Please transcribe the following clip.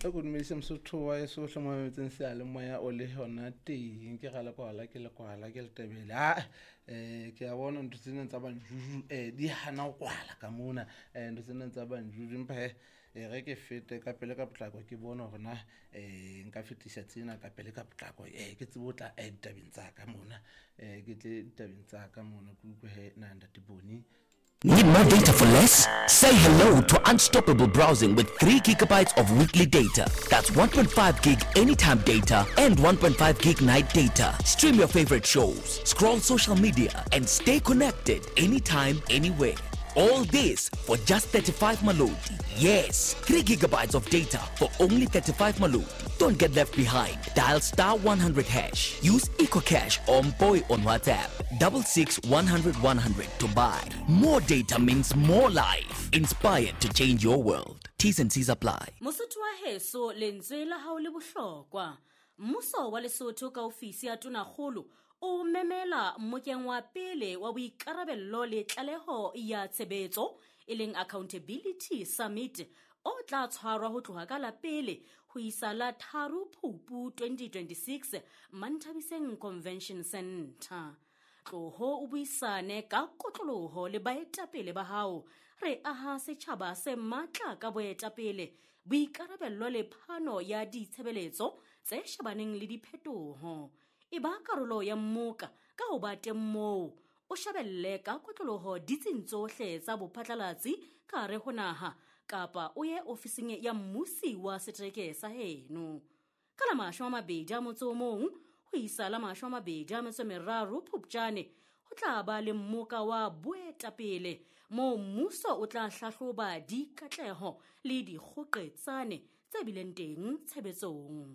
E ko dumedise Mosotho wa eso hle mo mametseng seyalemoya o le hona teng. Ke ga lekwala ke lekwala ke letebele. A ke a bona ntho tsena tsa banjuju di hana go kwala ka mona, ntho tsena tsa banjuju, empa he ge ke fete ka pele ka potlako ke bone gore na nka fetisa tsena ka pele ka potlako, ke tsebe o tla ditabeng tsa ka mona, ke tle ditabeng tsa ka mona, ke utlwe he na ntate Boni. Need more data for less? Say hello to unstoppable browsing with 3 gigabytes of weekly data. That's 1.5 gig anytime data and 1.5 gig night data. Stream your favorite shows, scroll social media, and stay connected anytime, anywhere. All this for just 35 Maloti. Yes, 3 gigabytes of data for only 35 Maloti. Don't get left behind. Dial star 100 hash. Use EcoCash or Mpoi on WhatsApp. 66 100 100 to buy. More data means more life. Inspired to change your world. T's and C's apply. Mosotho wa heso, lentswe la hao le bohlokwa. Mmuso wa Lesotho ka ofisi ya Tonakgolo o memela mmokeng wa pele wa boikarabello le tlaleho ya tshebetso, e leng Accountability Summit, o tla tshwarwa ho tloha ka la pele ho isa la 3 Phupu 2026 Manthabiseng Convention Center. Tloho o buisane ka kotloloho le baetapele ba hao. Re aha setjhaba se matla ka boetapele, boikarabello le phano ya ditshebeletso tse shebaneng le diphetoho. E ba karolo ya mmoka ka ho ba teng moo, o shebelle ka kotloloho ditsing tsohle tsa bophatlalatsi ka hare ho naha, kapa o ye ofising ya mmusi wa setereke sa heno. Ka la 21 ho isa la 23 Phupjane ho tla ba le mmoka wa boetapele moo mmuso o tla hlahloba dikatleho le dikgoqetsane tse bileng teng tshebetsong.